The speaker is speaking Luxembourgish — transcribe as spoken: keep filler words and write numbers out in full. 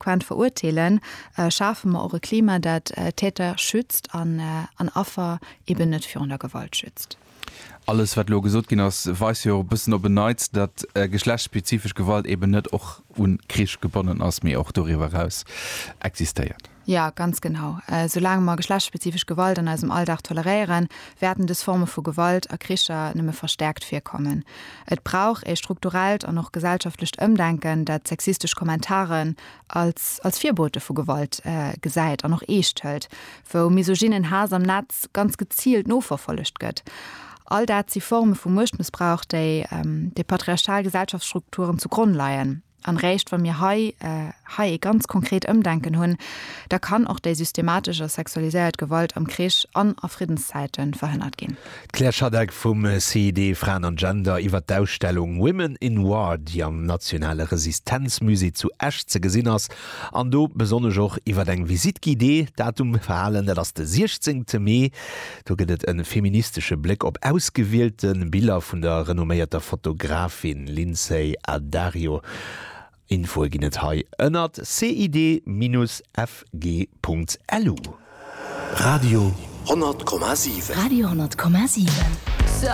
konsequent verurteelen, schafe mer och e Klima, dat Täter schützt an an Affer eben net virun der Gewalt schützt. Alles wat elo gesot ginn ass, weist jo e bëssen op en Neits, datt geschlechtsspezifesch Gewalt eben net och un Krich gebonnen ass, mee och doriwwer eraus existéiert. Jo, ganz genau. Soulaang mer geschlechtsspezifesch Gewalt an eisem Alldag toleréieren, wäerten dës Forme vu Gewalt a Kricher nëmme verstäerkt virkommen. Et brauch ee strukturellt an och gesellschaftlecht Ëmdenken, dat sexistesch Kommentaren als als Virbote vu Gewalt gesäit an och eescht hëlt, wou misogynen Haass am Netz ganz geziilt noverfollegt gëtt. All dat si Forme vu Muechtmëssbrauch, déi déi patriarchal Gesellschaftsstrukturen zu Gronn leien. An réischt wa mir hei hei ee ganz konkret Ëmdenken hunn, da kann och déi systematesch a sexualiséiert Gewalt am Krich an a Friddenszäite verhënnert ginn. D'Claire Schadeck vum CID Fraen an Gender iwwer d'Ausstellung Women in War, déi am Nationale Resistenzmusée zu Esch ze gesinn ass, an do besonnesch och iwwer eng Visite guidée. Datum verhalen, dat ass de siechzéngte Mee. Do gëtt et e feministesche Bléck op ausgewielte Biller vun der renomméierter Fotografin Lynsey Addario. Infoe ginn et hei ënnert cid-fg.lu. Radio honnert Komma siwen. Radio honnert Komma siwen.